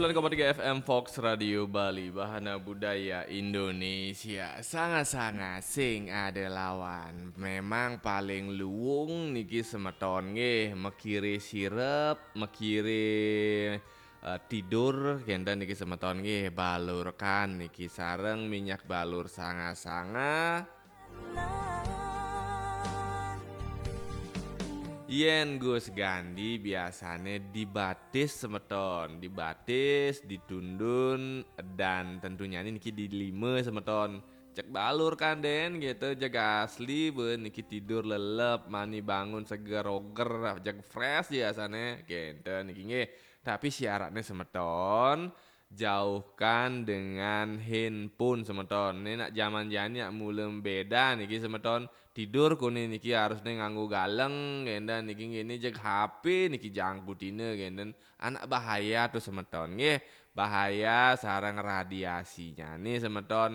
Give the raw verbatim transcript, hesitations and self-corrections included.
Sembilan koma tiga F M Fox Radio Bali, Bahana Budaya Indonesia. Sanga-sanga sing ada lawan. Memang paling luwung niki semeton nggih, mekire sirep, mekire eh, tidur kenten niki semeton nggih, balurkan niki sareng minyak balur sanga-sanga. Yen Gus Gandhi biasane dibatis semeton, dibatis, ditundun, dan tentunya niki dilime semeton. Cek balur kan den gitu, jeg asli be niki tidur lelep, mani bangun seger oger, jeg fresh biasane. Kenten niki nggih. Tapi syaratnya semeton, jauhkan dengan handphone semeton. Ini nak zaman jani nak mulem beda niki semeton. Tidur kuni niki harusnya nganggo galeng, kenten niki ngene jeg H P niki jangkutine kenten. Anak bahaya tuh semeton nggih. Bahaya sareng radiasinya nih semeton.